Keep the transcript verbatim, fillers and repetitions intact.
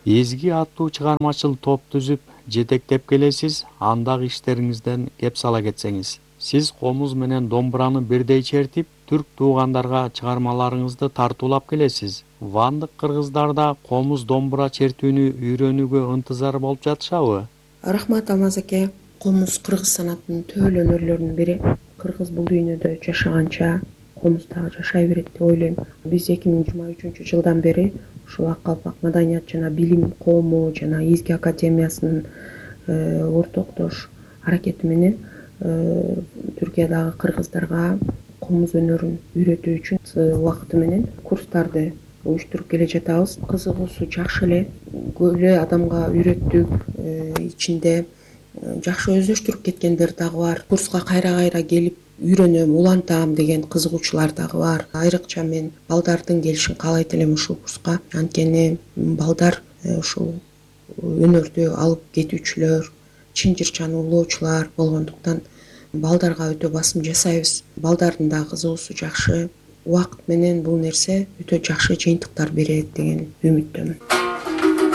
Изги аттуу чыгармачыл топ түзүп жетектеп келесиз, андагы иштериңизден кеп сала кетсеңиз. Сиз комуз менен домбураны бирдей чертип, түрк туугандарга чыгармаларыңызды тартуулап келесиз. Вандык кыргыздар да комуз домбура чертүүнү үйрөнүүгө ынтызар болуп жатышабы? Рахмат Алмаз аке. Комуз кыргыз санатынын төл өнөрлөрүнүн бири. Кыргыз бул дүйнөдө жашаганча комуз дагы жашай берет деп ойлойм. Биз эки миң жыйырма үчүнчү жылдан бери ушул Ак Калпак Маданият жана Билим Коому жана Изги академиясынын ортоктош аракети менен Түркиядагы кыргыздарга комуз өнөрүн үйрөтүү үчүн убакыты менен курстарды уюштуруп келе жатабыз. Кызыгуусу жакшы эле, көп эле адамга үйрөттүк. Ичинде жакшы өздөштүрүп кеткендер дагы бар. Курска кайра кайра келип үйрөнөм, улантам деген кызыгуучулар дагы бар. Айрыкча мен балдардын келишин каалайт элем ушул курска. Анткени балдар ушул өнөрдү алып кетүүчүлөр, чын жырчаны улоочулар болгондуктан балдарга өтө басым жасайбыз. Балдардын да кызыгуусу жакшы. Убакыт менен бул нерсе өтө жакшы жыйынтыктар берет деген үмүттөмүн.